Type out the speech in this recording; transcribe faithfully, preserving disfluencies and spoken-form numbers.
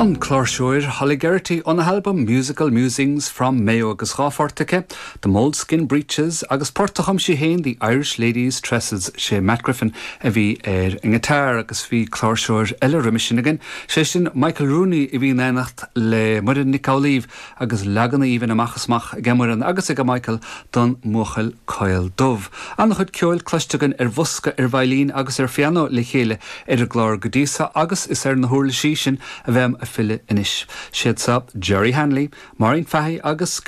An cláirseoir Holly Geraghty óna halbam Musical Musings from Mayo agus dhá phort aici, The Moleskin Breeches agus port a chum sí féin The Irish Ladies Tresses sé Matt Griffin a bhí ar an ngiotár agus bhí cláirseoir eile roimhe sin againn, sé sin Michael Rooney a bhí in éineacht le Muireann Nic Amhlaoibh agus leagan aoibhinn amach is amach ag Muireann agus ag Michael don mBuachaill Caol Dubh. An-chuid ceoil cloiste againn ar bhosca ar veidhlín agus ar phianó le chéile ar an gclár go dtí seo agus is ar na huirlisí sin a bheam ag filleadh anois. Siad seo Jerry Hanley, Maureen Fahy agus